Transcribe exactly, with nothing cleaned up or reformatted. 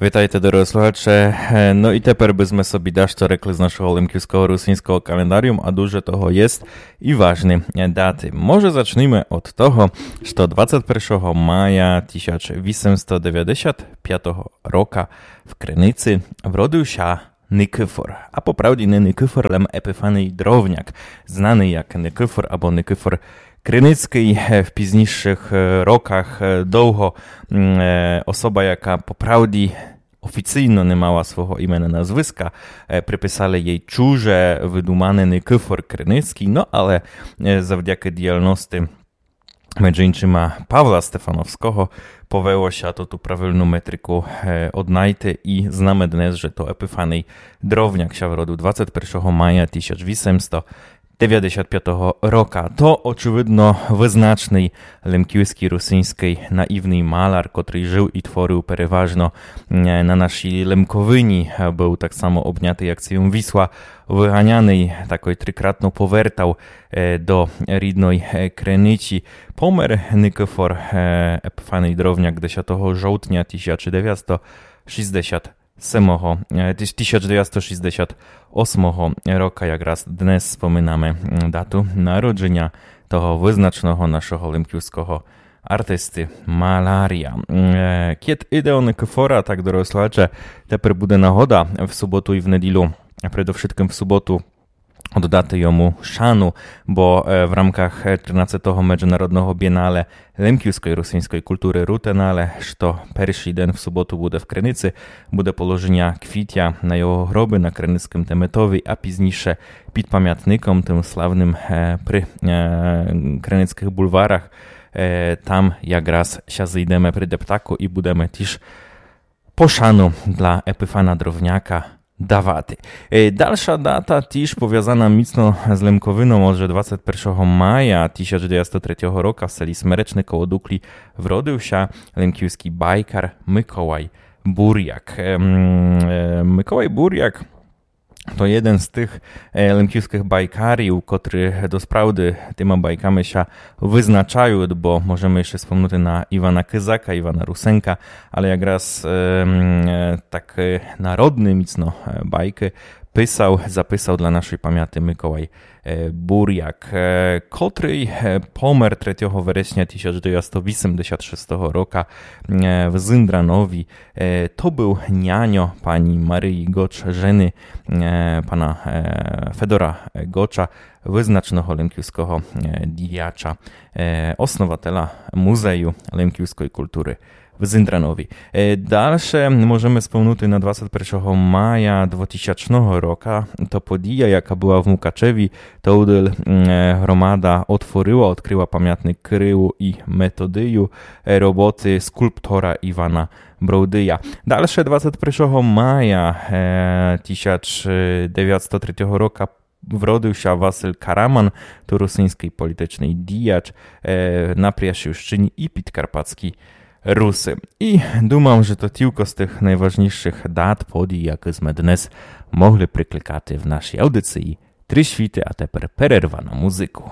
Вітайте, дорогы слухаче. Е, но і тепер бы зме собі дашто рекли з нашого лемківского русиньского календаріум, а дуже того єст і важны, е, даты. Може, зачнеме од того, што двадцет першого мая тисяч вісемсто девятдесят пятого рока в Криниці вродив ся Никифор. А по правді не Никифор, лем Епіфаний Дровняк, знаный як Никифор або Никифор Криницькый. Е, в пізнішых, е, роках, е, довго, м, е, особа, яка по правді офіційно не мала свого імена, назвиска, е, приписали єй чуже выдумане Никифор Криницькый, но але, е, завдякы діяльности меджі иншыма Павла Стефановского повело ся то ту правилну метрику, е, однайти і знаме днес, же то Епіфаний Дровняк ся вродив двадцет першого мая тисяч вісемсто девятдесят пятого рока. То, очевидно, визначный лемківскый русиньскый наївный маляр, котрый жыв і творив переважно, е, на нашій Лемковині, е, быв так само обнятый акцийом Вісла выганяный, такой трикратно повертав, е, до рідной, е, Криниці. Помер Никифор, е, Епіфаний Дровняк десятого жовтня тисяч девятсто шістдесят семого, е, тис-, тисяч девятсто шістдесят осмого рока. Якраз днес споминаме, м, дату народжыня того визначного нашого лемківского артисты маляря. М, е, кєд іде о Никифора, так, дорогы слухаче, тепер буде нагода в суботу і в неділю, а предовшыткым в суботу, оддати йому шану, бо, е, в рамках, е, тринадцятого меджынародного бієнале лемківской русиньской културы Рутенале, што першый ден в суботу буде в Криниці, буде положыня квітя на його гробы на Криницькым теметови, а пізніше під памятником тым славным, е, при, е, Криницькых булварах. Е, там якраз ся зыйдеме при дептаку і будеме тіж пошану для Епіфана Дровняка давати. Е, дальша дата тіж повязана міцно з Лемковином, адже двадцет першого мая тисяч девятсто третього рока в селі Смеречне коло Дуклі вродив ся лемківскый байкар Миколай Буряк. Ем, е, Миколай Буряк то єден з тых, е, лемківскых байкарів, котры досправды тыма байками ся визначают, бо можеме іщы спомнути на Івана Кизака, Івана Русенка, але якраз, ем, е, так, е, народны міцно, е, байкы писав, записав для нашой памяти Миколай, е, Буряк, е, котрый, е, помер третього вересня тисяч девятсто вісемдесят шестого рока, е, в Зындранові. Е, то быв няньо пані Марії Гоч, жены, е, пана, е, Федора Гоча, визначного лемківского, е, діяча, е, основателя музею лемківской културы в Зындранові. Е, дальше можеме спомнути на двадцет першого мая двотисячного рока. То подія, яка была в Мукачеві, то удел, м, е, громада отворила, открыла памятник Кирилу і Методию, е, роботы скулптора Івана Бровдия. Дальше двадцет першого мая, е, тисяч девятсто третього рока вродив ся Василь Караман, то русиньскый політичный діяч, е, на Пряшівщыні і Підкарпатскій Руси. І думам, же то тілько з тых найважнішых дат, подій, якы зме днес могли прикликати в нашій аудиції. Три світы, а тепер перерва на музику.